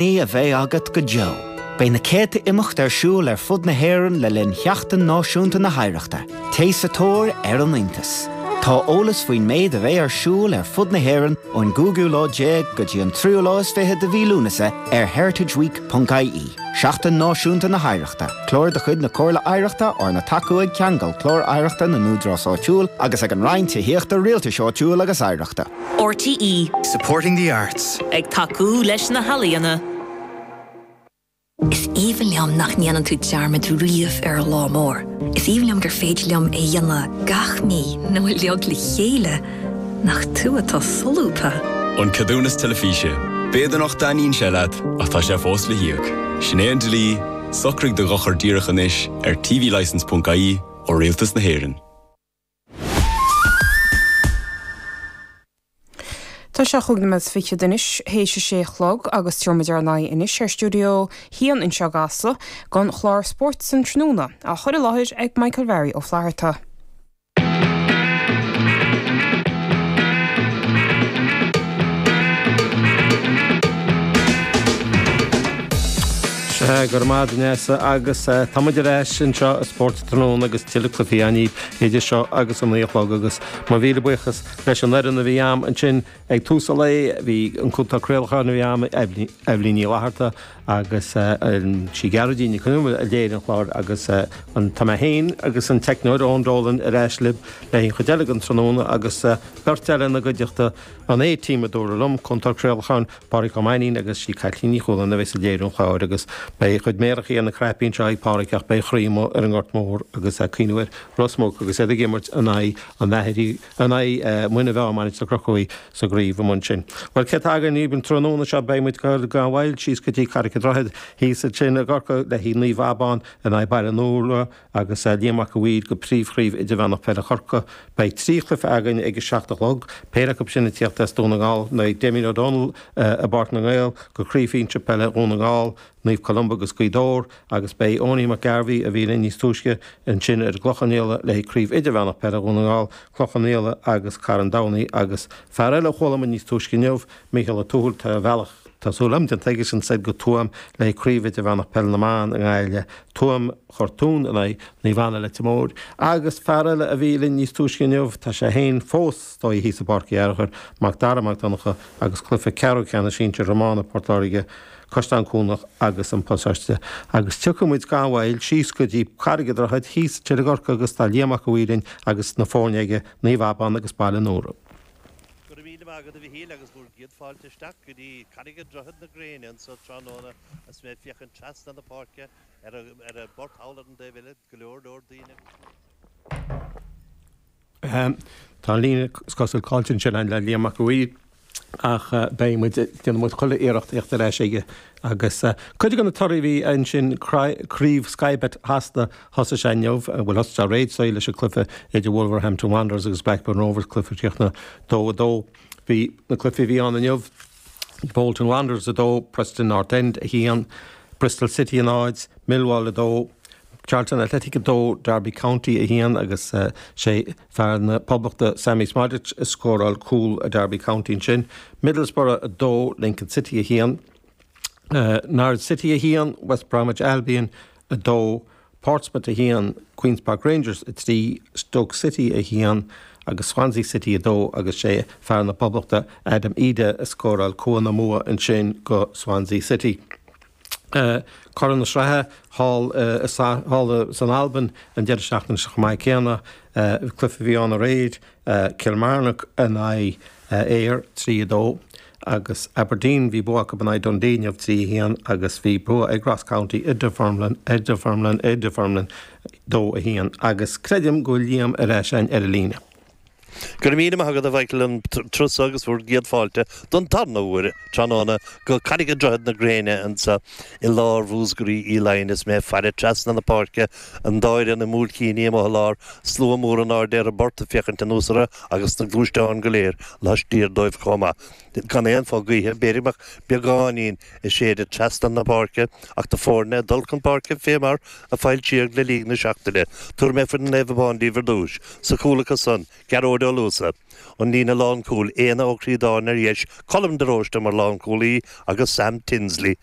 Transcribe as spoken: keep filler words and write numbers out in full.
a bheidh agat go deo. Beidh na céadta imeacht ar siúl ar fud na hÉireann le linn Sheachtain Náisiúnta na hOidhreachta, Téigh sa tóir ar an iontas. Tá eolas faoin méid a bheidh ar siúl ar fud na hÉireann ón gcúigiú lá déag go dtí an tríú lá is fiche de mhí Lúnasa ar heritageweek.ie. Seachtain Náisiúnta na hOidhreachta, Clár de chuid na Comhairle Oidhreachta arna tacú ag Ceangal Clár Oidhreachta na nÚdarás Áitiúil agus ag an Roinn Tithíochta Rialtais Áitiúil agus Oidhreachta. RTE Supporting the arts. ag tacú leis na healaíona. Is aoibhinn liom nach ndéanann tú dearmad riamh ar an lá mór. Is aoibhinn liom gur féidir liom é a dhéanamh gach mí nó uilig le chéile nach tú atá solúbtha. An ceadúnas teilifíse. B'fhéidir nach dtaitníonn sé leat ach tá sé fós le híoc. Sin é an dlí, socraigh do dhochar díreach anois ar tvlicence.ie ó Rialtas na hÉireann. Tá sé chúig nóiméad is fiche anois théis a sé a chlog agus tabharfaimid ár n-aghaidh anois ar stiúideo haon anseo i gCasla don chlár Spórt san Tráthnóna á chur i láthair ag Michael Mhary Ó Flatharta. Sea, go raibh maith agat Nessa agus tá muid ar ais anseo i Spórt Tráthnóna agus tuilleadh cluichí againn idir seo agus an naoi a chlog agus mo mhíle buíochas leis an fhoireann a bhí a'm ansin ag tús an lae, bhí an cúntóir craolacháin a bhí a'm, Eibhlín Ní Fhlatharta agus sí Gearóidín Nic Con Iomaire a léirigh an clár agus an tá mé féin agus an teicneoir Eoin Dolan ar ais libh le an chuid eile den tráthnóna agus beirt eile ina gcuideachta an A-team a dúradh liom, cúntóir craolacháin Pádraig Ó Mainnín agus sí Caitlín Ní Chualáin a bheas ag léiriú an chláir agus beidh a chuid méarachaí ar na cnaipí anseo ag Pádraig ach beidh a chroí amuigh ar an nGort Mór agus ag cuimhniú ar Ros Muc agus iad ag imirt in aghaidh an Athairí in aghaidh Muine Mheá Mainistir Chnoc sa gcraobh amuigh ansin. Bhuel cé atá againn an tráthnóna seo beidh muid gan mhoill síos go dtí Carraig an Droichid thíos ansin i gCorcaigh le haghaidh Naomh Abán in aghaidh Baile an Iúir agus Liam Mac a' Mhaoir go príomhchraobh idirmheánach peile Chorcaí. Beidh trí chluiche againn ag a seacht a chlog, péire acu sin ag tíocht as Dún na nGall, nó Damien O'Donnell i bPáirc na nGael go Craobh Shinsir Peile Dhún na nGall, Naomh Columba agus Gaoth Dobhair agus beidh Owenie McGarvey a bhí linn níos túisce ansin ar an gClochán Liath le haghaidh Craobh Idirmheánach Peile Dhún na nGall, Clochán Liath agus Carn Domhnach agus fear eile a chuala muid níos túisce inniu, Mícheál Ó Tuathail, tá a bhealach Tá súil agam déanta aigesean soir go Tuaim le haghaidh Craobh Idirmheánach Peile na mBan i nGaillimh, Tuaim Chortún in aghaidh Naomh Anna Leitir Móir. Agus fear eile a bhí linn níos túisce inniu, tá sé féin fós is dóigh thíos i bPáirc Uí Fhearchair, Mac Dara Mac Donncha agus cluiche ceathrú ceannais sinsir iomána Port Láirge, Caisleán Cuanach agus an Pasáiste. Agus tiocfaidh muid gan mhoill síos go dtí Carraig an Droichid thíos i gCorcaigh agus tá Liam Mac a' Mhaoir linn agus na foirne aige, Naomh Abán agus Baile an Iúir. Go raibh míle maith agat a Mhichíl agus bhur gcéad fáilte isteach go dtí Carraig an Droichid na gréine anso tráthnóna agus mé ag féachaint trasna na páirce ar an bport thall ar an dtaobh eile, go leor leor daoine agus. Tá an líne is cosúil caillte ansin againn le Liam Mac a' Mhaoir ach beidh muid, déanfaidh muid chuile iarracht theacht ar ais aige agus cuid de na torthaí a bhí ansin, Craobh Sky Bet Shasana, thosaigh sé inniu, bhuel thosaigh sé aréir so leis an cluiche idir Wolverhampton Wanderers agus Blackburn Rovers, cluiche a chríochnaigh dó a dó. Bhí na cluichí a bhí ann inniu, Bolton Wanderers a dó, Preston North End a haon, Bristol City a náid, Millwall a dó, Charlton Athletic a dó, Derby County a haon agus sé fear na Poblachta Sammy Szmodics a scóráil cúl Derby County ansin. Middlesbrough a dó, Lincoln City a haon, Norwich City a haon, West Bromwich Albion a dó, Portsmouth a haon, Queens Park Rangers a trí, Stoke City a haon agus Swansea City a dó agus sé fear na Poblachta Adam Idah a scóráil cúl na mbua ansin go Swansea City. Curaidh na Sraithe thall thall san Albain an deireadh seachtaine seo chomh maith céanna. Cluiche a bhí ann aréir, Kilmarnock in aghaidh Ayr trí a dó agus Aberdeen bhí bua acu in aghaidh Dundee inniu trí a haon agus bhí bua ag Ross County i Dunfermline i Dunfermline i Dunfermline dó a haon agus creidim go bhfuil Liam ar ais againn ar an líne. Go raibh míle maith agat a Mhichael an turas agus bhur gcéad fáilte don tarna huair tráthnóna go Carraig an Droichid na Gréine anseo i lár Mhúscraí Uí Laighin is mé ag faire trasna na páirce an dá fhoireann i mBuailtíní amuigh i lár slua mór in airde ar an bport ag féachaint anuas orthu agus na gluaisteáin go léir laistiar dóibh chomh maith. Gan aon fhoth gaoithe, b'fhéidir go mbeadh beagáinín ag séideadh trasna na páirce ach na foirne ag dul chun páirce fé mar a foilsíodh le linn na seachtaine. Tabharfaidh mé foireann Naomh Abán díbh ar dtús. Sa chúl acu san, Gearóid Gearóid Ó Luasa. An líne lánchúil Éanna Ó Críodáin ar dheis, Colm de Róiste mar lánchúlaí agus Sam Tinsley.